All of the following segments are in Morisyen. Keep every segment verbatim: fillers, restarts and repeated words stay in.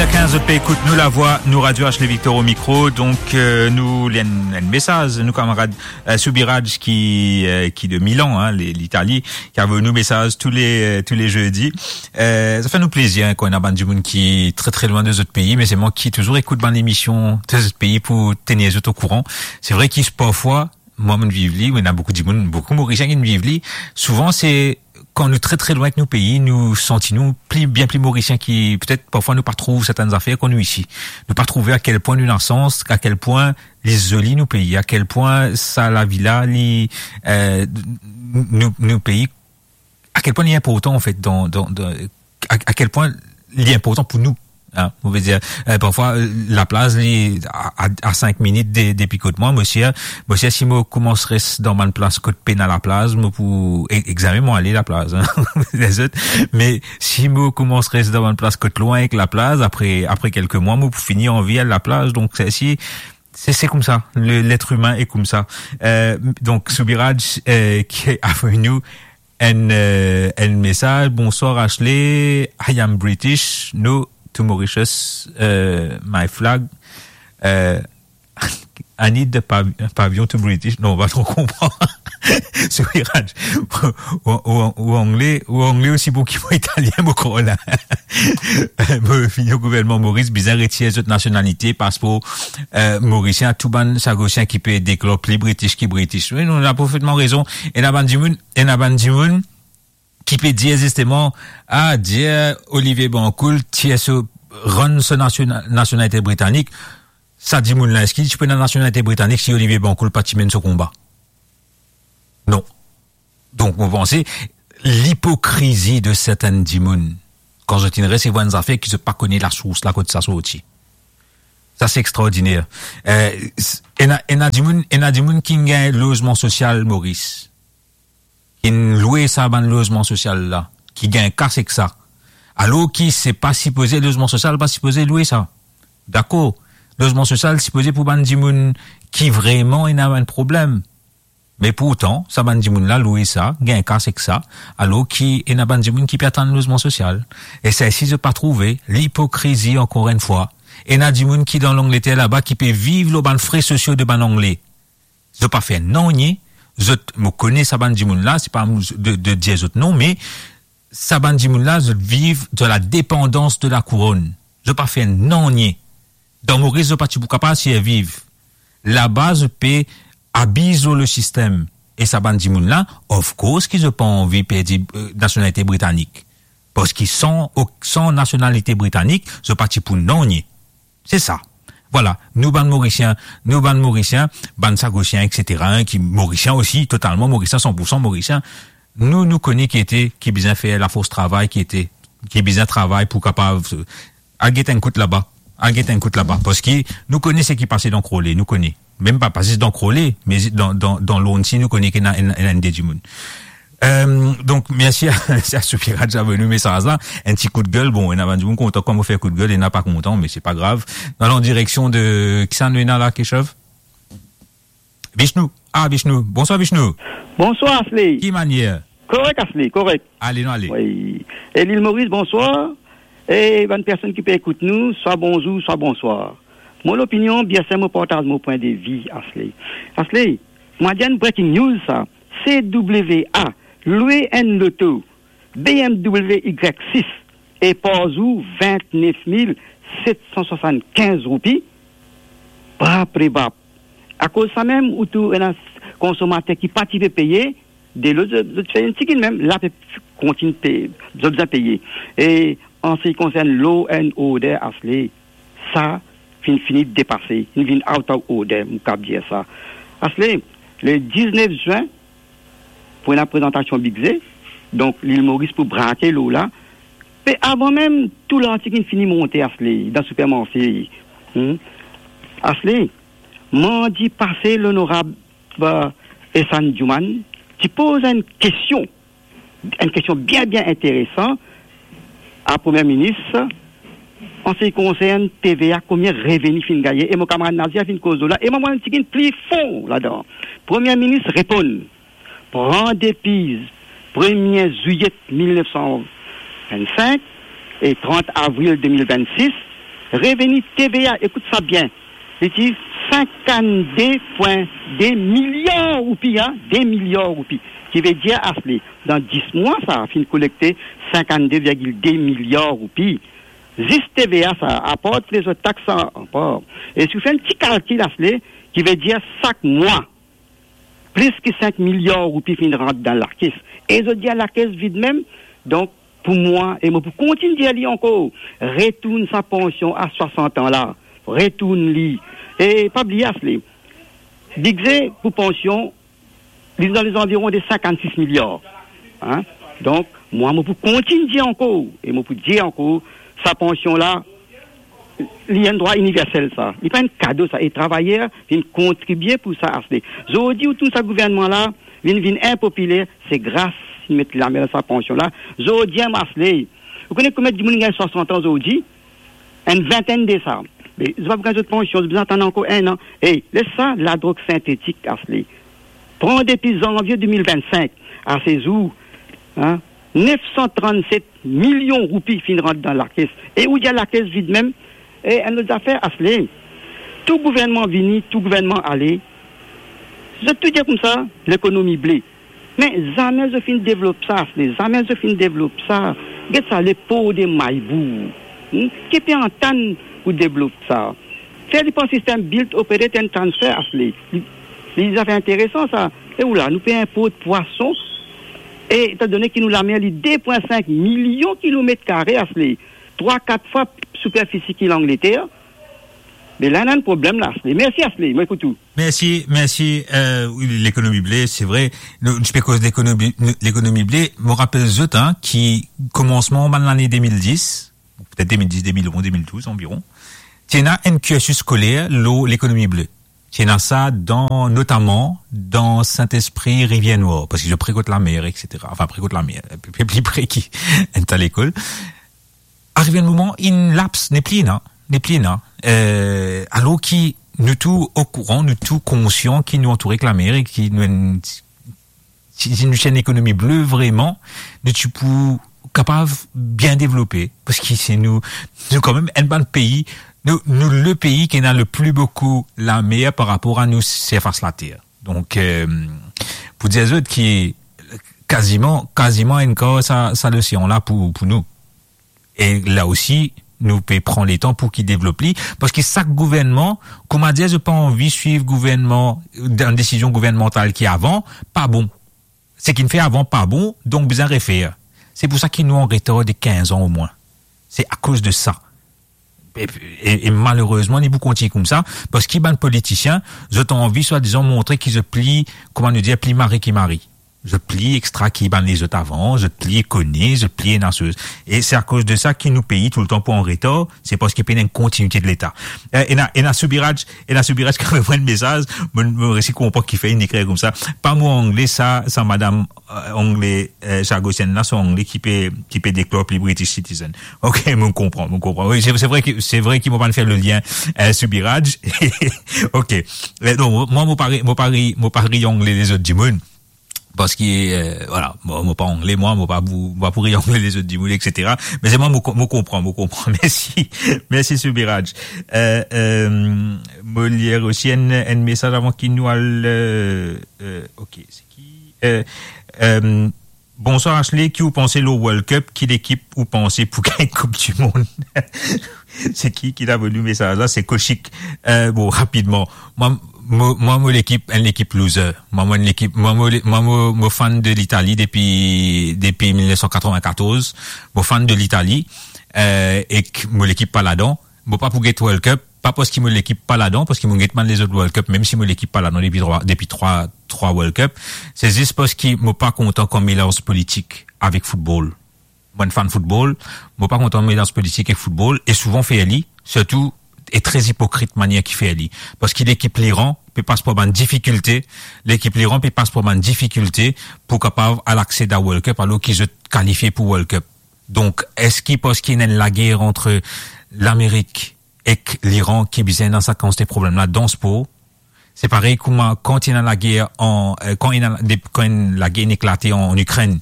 Kinz zot pe ekout Nou Lavwa, nou Radio Ashley Victor au micro. Donk, euh, nou, li enn, enn mesaz, nou kamarad, euh, Soubiraj ki, euh, ki de Milan, hein, li, Litali, ki avoy nou mesaz tou le, euh, tou le zedi. Euh, sa fer nou plezir, hein, kan ena bann dimoun ki tre, tre lwin de zot pei, me selman ki touzour ekout bann emision de zot pei pou tenir zot okouran. Se vre ki parfwa, mwa, mo'nn viv li, me ena boukou dimoun, boukou Morisien ki'nn viv li. Souvan, se kan nou tre, tre lwin ek nou pei, nou santi nou pli, bien pli Morisien ki, petet, parfwa nou pa trouv sertenn zafer kan nou isi. Nou pa trouve a kel pwin nou ena sans, a kel pwin li zoli nou pei, a kel pwin sa lavi la, li, euh, nou, nou pei, a kel pwin li inportan, anfet, dan, dan, dan, a, a kel pwin li inportan pou nou. Hein, on veut dire, euh, parfwa, euh, laplaz, li, a, a, a sink minit de, depi kot mwa, mo sir, mo sir, si mo koumans res dan bann plas kot pena laplaz, mo pou e-, examen mo ale laplaz, hein, lezot. Me si mo koumans res dan bann plas kot lwin ek laplaz, apre, apre kelke mwa, mo pou fini anvi al laplaz. Donk, se, si, se, se koumsa, le, l'être humain est koumsa. Euh, donk, Soubiraj, euh, ki avoy nou enn, euh, enn mesaz. Bonsoir Ashley, I am British, no to Mauritius, euh, my flag. Euh, I need the pav-, pavillon to British. Non, pa tro konpran. Soubiraj. Ou, ou, ou angle, ou angle osi bon ki mwa italien, mo krwar la. Mo fini o gouvernman Moris, bizin retir zot nasionalite, paspor, euh, morisien, tou bann sagosien ki pe deklare pli British ki British. Wi, non, ou ena parfetman rezon. Ena bann dimoun, ena bann dimoun ki pe dir zisteman, ah, dir Olivier Bancoul tir so, rann so nasiona-, nasionalite britanik. Sa dimoun la, eski ti pou ena nasionalite britanik si Olivier Bancoul pa ti menn so konba? Non. Donk, mo panse, lipokrizi de sertenn dimoun, kan zot inn resevwar enn zafer ki zot pa kone lasours la kot sa sorti. Sa, se extraordiner. Eh, s-, ena, ena dimoun, ena dimoun ki gagn lozman sosial Moris, ki lwe sa bann lozman sosial la, ki gagn kas ek sa. Alor ki se pa sipoze, lozman sosial pa sipoze lwe sa. Dakor, lozman sosial sipoze pou bann dimoun ki vreman ena enn problem. Me pourtan, sa bann dimoun la lwe sa, gagn kas ek sa, alor ki ena bann dimoun ki pe atann lozman sosial. E sa isi zot pa trouve, lipokrizi, ankor enn fwa. Ena dimoun ki dan Langleter laba ki pe viv lor bann fre sosio de bann Angle. Zot pa fer nanye, zot, mo kone sa bann dimoun la, se pa de, de dir zot non, me sa bann dimoun la, zot viv dan la depandans de la kouronn. Zot pa fer nanye. Dan Moris, zot pa ti pou kapav sirviv. Laba, zot pe abiz lor le sistem. E sa bann dimoun la, of course ki zot pa anvi perdi, eh, nasionalite britanik. Parski san, ok, san nasionalite britanik, zot pa ti pou nanye. Se sa. Vwala, nou bann Morisien, nou bann Morisien, bann sagosien, et cetera, hein, ki Morisien osi, totalman Morisien, san pour san Morisien, nou, nou kone ki ete, ki bizin fer lafors travay, ki ete, ki bizin travay pou kapav, eh, al get enn kout laba, al get enn kout laba, parski nou kone seki pase dan Crawley, nou kone. Mem pa, pa zis dan Crawley, me zi-, dan, dan, dan Lonsi, nou kone ki ena, ena, ena enn de dimoun. Euh, donk, mersi a, mersi a Soubiraj avoy nou mesaz la. Enn ti kout gel, bon, ena bann dimoun kontan kan mo fer kout gel, ena pa kontan, me se pa grav. Nou al an direksion de, kisannla nou ena la, Keshav? Vishnu. Ah, Vishnu. Bonswar, Vishnu. Bonswar, Ashley. Ki manier? Korek, Ashley, korek. Ale, nou ale. Wi. E Lil Moris, bonswar. E bann personn ki pe ekout nou, swa bonzour, swa bonswar. Mo lopinion, bien sir, mo partaz mo pwin de vi, Ashley. Ashley, mo dir enn breaking news sa. C W A lwe enn loto B M W Y six e par zour vintnef mil set san swasannkinz roupi. Bap re bap. Akoz sa mem, ou trouv ena konsomater ki pa ti pe peye, de lot, zot, zot fer enn tigit mem, la pe kontign pe, zot bizin peye. E an se ki konsern law and order, Ashley, sa finn fini depase, finn vinn out of order, mo kapav dir sa. Ashley, le diznef zin, pou ena prezantasion bidze, donk Lil Moris pou brake law la, me avan mem tou lartik inn fini monte, Ashley, dan sipermarse. Hmm? Ashley, mandi pase, lonorab, eh, Ehsan Djouman, ti poz enn kestion, enn kestion bien, bien interesan a Premie Minis, an se ki konsern T V A, konbien reveni finn gagne, e mo kamarad Nazir finn koz lor la, e mo, mo inn tigit pli fon ladan. Premie Minis reponn, pran depi premie zwiet mil nef san vinn-sink e trant avril de mil vinn-sis, Reveni T V A, ekout sa bien, li ti sinkannde pwin de miliar roupi, a, de miliar roupi. Ki ve dir, Asle, dan dis mwa, sa finn kolekte sinkannde virgil de miliar roupi. Zis T V A sa, apar tou lezot tax sa, apar. E si ou fer enn ti kalkil, Asle, ki ve dir sak mwa, plis ki sink miliar roupi finn rant dan lakes. E zot dir lakes vid mem. Donk, pou mwa, e mo pou kontign dir li ankor, retourn sa pansion a swasant an la, retourn li. E pa bliye, Asle, bidze pou pansion, li dan lezanviron de sinkannsis miliar. Hein? Donk, mwa, mo pou kontign dir ankor, e mo pou dir ankor, sa pansion la, li enn drwa iniversel sa. Li pa enn kado sa. E travayer vinn kontribie pou sa, Asle. Zordi, ou trouv sa gouvernman la vinn, vinn inpopiler, se gras li met lamin dan sa pansion la. Zordi, Asle, ou kone konbien dimoun gagn swasant an zordi? Enn vintenn de sa. Me zot pa pou gagn zot pansion, zot bizin atann ankor enn an. E les sa ladrog sintetik, Asle. Pran depi zanvie de mil vinn-sink a se zour, hein, nef san trannset milion roupi finn rant dan lakes. E ou dir lakes vid mem. E enn lot zafer, Asle, tou gouvernman vini, tou gouvernman ale, zot tou dir koumsa, lekonomi ble. Me zame zot finn devlop sa, Asle, zame zot finn devlop sa. Get sa, lepor de Maybou. Hmm? Ki pe atann pou devlop sa? Fer li par sistem build, operate and transfer, Asle. Li, li zafer interesan sa. E ou la, nou pe inport pwason. E etandone ki nou lamer li de pwin sink milion kilomet kare, Asle, trwa, kat fwa siperfisi ki Langleter. Me la, ena enn problem la, Asle. Mersi, Asle. Mo ekout ou. Mersi, mersi. Euh, wi, lekonomi ble, se vre. Nou, nou ti pe koz lekonomi, lekonomi ble. Mo rapel zot, hein, ki komansman bann lane de mil dis, petet de mil dis, de mil onz, de mil douz anviron, ti ena enn kirsis skoler lor lekonomi ble. Ti ena sa dan, notaman dan Sint-Espri, Rivier Nwar, parski zot pre kot lamer, et cetera. Anfin, pre kot lamer, pli, pli pre ki enn ta lekol. Ariv enn moman, inn laps, nepli ena, nepli ena. Euh, alor ki nou tou okouran, nou tou konsian ki nou antoure ek lamer e ki nou enn, si, si nou ti enn lekonomi ble vreman, nou ti pou kapav bien devlope, parski se nou, nou kanmem enn bann pei, nou, nou le pei ki ena le pli boukou lamer par rapor a nou sirfas later. Donk, euh, pou dir zot ki kaziman, kaziman enn kar sa, sa losean la pou, pou nou. E la osi, nou pe pran letan pou ki devlop li, parski sak gouvernman, kouma dir, zot pa anvi swiv gouvernman, dan desizion gouvernmantal ki avan, pa bon. Seki inn fer avan pa bon, donk bizin refer. Se pou sa ki nou an retar de kinz an omwin. Se akoz de sa. E, e, e malerezman, li pou kontign koumsa, parski bann politisien, zot anvi swadizan montre ki zot pli, kouma nou dir, pli mari ki mari. Zot pli extra ki bann lezot avan, zot pli kone, zot pli ena soz. E se akoz de sa ki nou pei toultan pou an retar, se parski pena enn kontinite de Leta. Eh, ena, ena Soubiraj, ena Soubiraj ki avoy mwa enn mesaz, mo, mo resi konpran kifer li ekrir koumsa. Pa mo angle sa, sa madam, eh, angle, eh, Jagosienne la, so angle ki pe, ki pe deklor pli British citizen. Ok, mo konpran, mo konpran. Wi, se, se vre ki, se vre ki mo pa'nn fer le lien, eh, Soubiraj. Ok. Eh, non, mwa, mo pa re-, mo pa re-, mo pa re-angle lezot dimoun. Parski, eh, vwala, mo, mo pa angle, mwa, mo pa pou, mo pa pou re-angle lezot dimoun, et cetera. Me selman mo ko-, mo konpran, mo konpran. Mersi, mersi Soubiraj. Eh, eh, mo lir osi enn, enn mesaz avan ki nou al, eh, eh, ok, se ki, eh, eh, bonswar Asle, ki ou panse lor World Cup, ki lekip ou panse pou gagn Koup di Mond? Se ki, ki avoy nou mesaz la? Se Kochik. Eh, bon, rapidman. Mwa, mo, mwa, mo lekip, enn lekip loser. Mwa, mo enn lekip, mwa, mo le-, mwa, mo, mo fan de Litali depi, depi mil nef san katrovin-katorz. Mo fan de Litali. Eh, ek mo lekip pa ladan. Mo pa pou get World Cup, pa parski mo lekip pa ladan, parski mo get bann lezot World Cup, mem si mo lekip pa ladan depi trwa, depi trwa, trwa World Cup. Se zis parski mo pa kontan kan melans politik avek foutbol. Mo enn fan foutbol, mo pa kontan melans politik ek foutbol, e souvan fer li, sirtou, e tre ipokrit manier ki fer li. Parski lekip Liran pe pas par bann difikilte, lekip Liran pe pas par bann difikilte pou kapav al aksed a World Cup, alor ki zot kalifie pou World Cup. Donk, eski parski ena enn lager ant Lamerik ek Liran ki bizin ena sa kantite problem la dan spor? Se parey kouma kan ti ena lager an, eh, kan ena, de-, kan enn lager inn eklate an, an Ikrenn,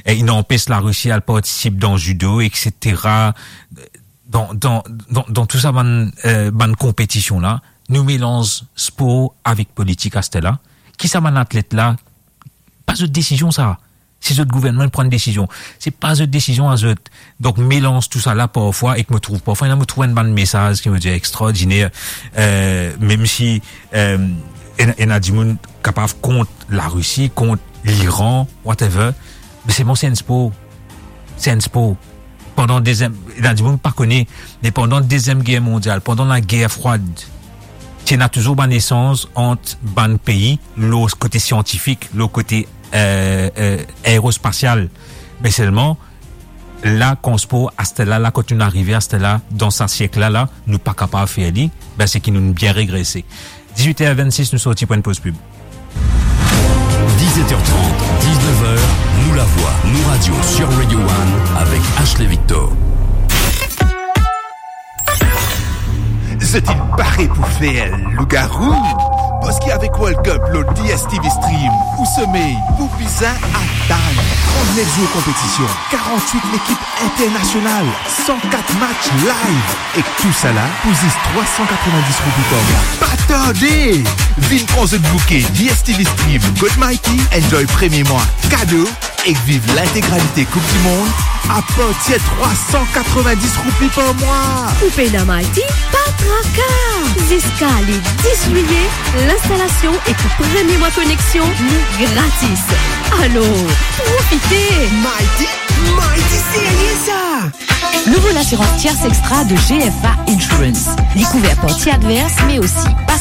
e inn anpes Larisi al partisip dan zido, et cetera. dan, dan, dan, dan tou sa bann, eh, bann konpetision la, nou melanz spor avek politik aster la. Ki sa bann atlet la, pa zot desizion sa. Si zot gouvernman pran desizion, se pa zot desizion a zot. Donk, melanz tou sa la parfwa, ek mo trouv parfwa, ena, mo trouv enn bann mesaz ki mo dir extraordiner, eh, mem si, eh, ena, ena dimoun kapav kont Larisi, kont Liran, whatever, me selman se enn spor. Se enn spor. Pandan deziem, ena dimoun pa kone, me pandan Deziem Ger Mondial, pandan Lager Frwad, ti ena touzour bann esanz ant bann pei, lor kote siantifik, lor kote, eh, eh, aerospasial. Me selman, la, kan spor, aster la, la, kot nou arive, aster la, dan sa siek la, la, nou pa kapav fer li, be, se ki nou bien regrese. Dizuit er vennsis, nou sorti pou enn poz pib. Dizuit er trant, diznef er, Nou Lavwa, Nou Radio sur Radio One avec Ashley Victor. Zot inn pare pou fer lougarou? Parski avek World Cup lor D S T V Stream, ou somey pou bizin atann. Trant-nef zour konpetision, karant-wit lekip internasional, san kat match live, ek tousala pou zis trwa san katrovin-dis roupi par mwa. Pa tarde! Vinn pran zot bouke D S T V Stream kot Mighty, enjoy premie mwa kado ek viv lintegralite Koup di Mond apartir trwa san katrovin-dis roupi par mwa. Ou pena Mighty? Pa traka! Ziska le dis zwiye, linstalasion ek premie mwa koneksion, nou gratis. Alor, profite! Mighty, Mighty, serye sa! Nouvo lasirans Tierce Extra de G F A Insurance. Li kouver parti advers, me osi pas